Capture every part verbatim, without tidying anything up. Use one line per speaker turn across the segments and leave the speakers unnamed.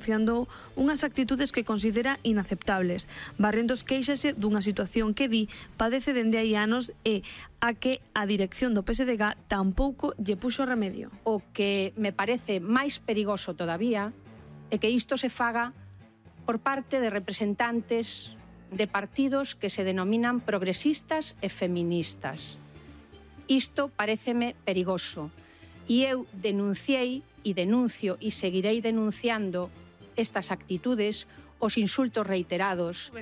denunciando unhas actitudes que considera inaceptables. Barrentos queixase dunha situación que di padece dende hai anos e a que a dirección do P S D G tampouco lle puxo remedio.
O que me parece máis perigoso todavía é que isto se faga por parte de representantes de partidos que se denominan progresistas e feministas. Isto paréceme perigoso e eu denunciei e denuncio e seguirei denunciando estas actitudes, os insultos reiterados.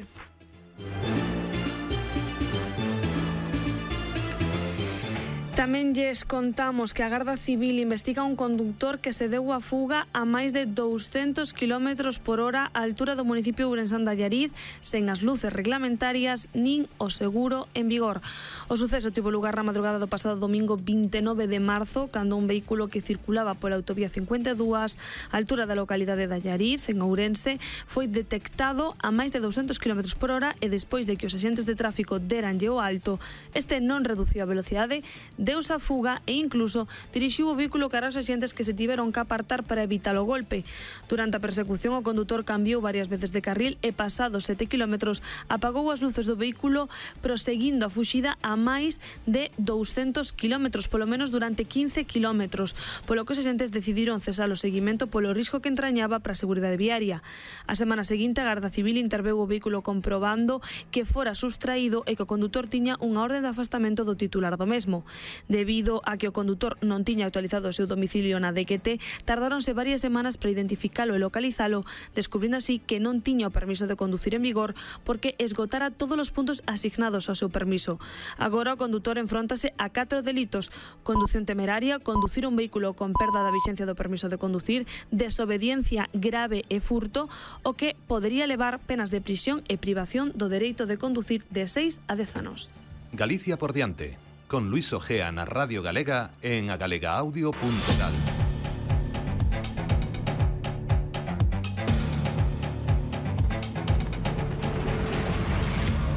Tamén lles contamos que a Garda Civil investiga un conductor que se deu a fuga a máis de douscentos kilómetros por hora á altura do municipio Ourensán de Allariz, sen as luces reglamentarias nin o seguro en vigor. O suceso tivo lugar na madrugada do pasado domingo vinte e nove de marzo, cando un vehículo que circulaba pola autovía cincuenta e dúas á altura da localidade de Allariz, en Ourense, foi detectado a máis de douscentos kilómetros por hora e despois de que os axentes de tráfico deranlle o alto, este non reduciu a velocidade, deuse a fuga e incluso dirixiu o vehículo cara aos axentes que se tiveron que apartar para evitar o golpe. Durante a persecución, o condutor cambiou varias veces de carril e pasados sete kilómetros apagou as luces do vehículo, proseguindo a fuxida a máis de douscentos kilómetros, polo menos durante quince kilómetros, polo que os axentes decidiron cesar o seguimento polo risco que entrañaba para a seguridade viaria. A semana seguinte, a Garda Civil interveu o vehículo comprobando que fora sustraído e que o condutor tiña unha orde de afastamento do titular do mesmo. Debido a que o condutor non tiña actualizado o seu domicilio na D Q T, tardáronse varias semanas para identificalo e localizalo, descubrindo así que non tiña o permiso de conducir en vigor porque esgotara todos os puntos asignados ao seu permiso. Agora o condutor enfróntase a catro delitos: condución temeraria, conducir un vehículo con perda da vixencia do permiso de conducir, desobediencia grave e furto, o que podería levar penas de prisión e privación do dereito de conducir de seis a dez anos.
Galicia por diante, con Luis Ojea na Radio Galega en agalegaaudio punto gal.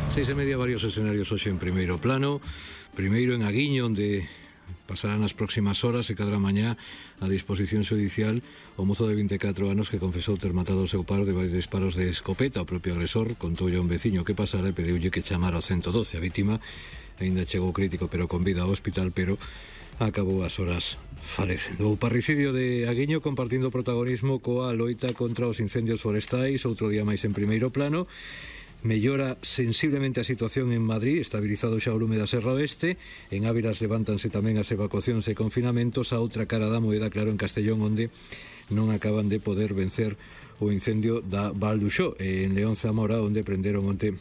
Seis e media, varios escenarios hoxe en primeiro plano. Primeiro en Aguiño, onde pasarán as próximas horas e cadra mañá a disposición xudicial o mozo de vinte e catro anos que confesou ter matado o seu par de varios disparos de escopeta. O propio agresor contoulle a un veciño que pasara e pediulle que chamara ao ciento doce. A vítima aínda chegou crítico pero con vida ao hospital, pero acabou as horas falecendo. O parricidio de Aguiño compartindo protagonismo coa loita contra os incendios forestais, outro día máis en primeiro plano. Mellora sensiblemente a situación en Madrid, estabilizado xa o lume da Serra Oeste. En Ávilas levántanse tamén as evacuacións e confinamentos. A outra cara da moeda, claro, en Castellón, onde non acaban de poder vencer o incendio da Val d'Uxó. E en León Zamora, onde prenderon onte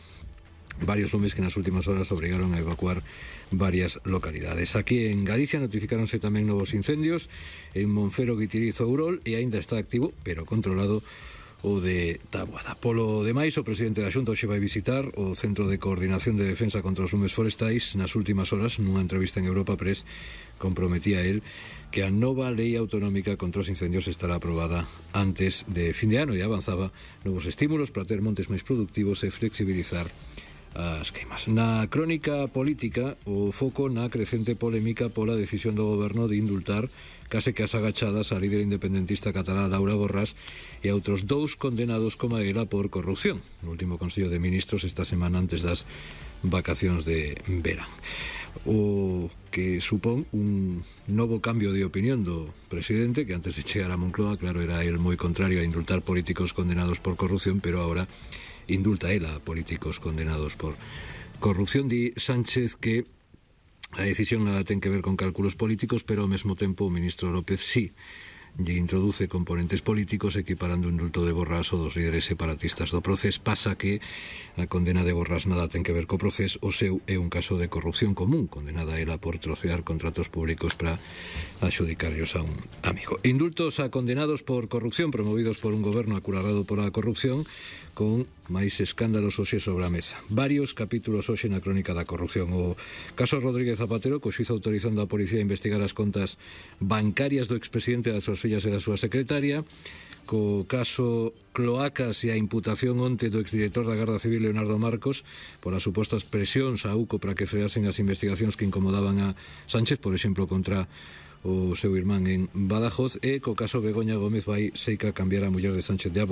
varios lumes que nas últimas horas obrigaron a evacuar varias localidades. Aquí en Galicia notificáronse tamén novos incendios en Monfero, Guitiriz, Ourol, e aínda está activo, pero controlado, o de Taboada. Polo demais, o presidente da Xunta hoxe vai visitar o Centro de Coordinación de Defensa contra os Lumes Forestais. Nas últimas horas, nunha entrevista en Europa Press, comprometía el que a nova lei autonómica contra os incendios estará aprobada antes de fin de ano e avanzaba novos estímulos para ter montes máis productivos e flexibilizar as queimas. Na crónica política, o foco na crecente polémica pola decisión do goberno de indultar case que as agachadas a líder independentista catalá Laura Borràs e a outros dous condenados como ela por corrupción. No último Consello de Ministros esta semana antes das vacacións de verán. O que supón un novo cambio de opinión do presidente, que antes de chegar a Moncloa, claro, era el moi contrario a indultar políticos condenados por corrupción, pero ahora indulta él a políticos condenados por corrupción. Di Sánchez que a decisión nada ten que ver con cálculos políticos, pero ao mesmo tempo o ministro López sí lle introduce componentes políticos equiparando o indulto de Borràs o dos líderes separatistas do Procés. Pasa que a condena de Borràs nada ten que ver co Procés, o seu é un caso de corrupción común, condenada ela por trocear contratos públicos para adxudicarlos a un amigo. Indultos a condenados por corrupción promovidos por un goberno acurarado pola corrupción, con máis escándalos hoxe sobre a mesa. Varios capítulos hoxe na crónica da corrupción. O caso Rodríguez Zapatero, co xuízo autorizando a policía a investigar as contas bancarias do expresidente das súas fillas e da súa secretaria. Co caso Cloacas e a imputación onte do exdirector da Garda Civil Leonardo Marcos polas supostas presións a U C O para que freasen as investigacións que incomodaban a Sánchez, por exemplo, contra o seu irmán en Badajoz. E co caso Begoña Gómez vai seica cambiar a muller de Sánchez de Abo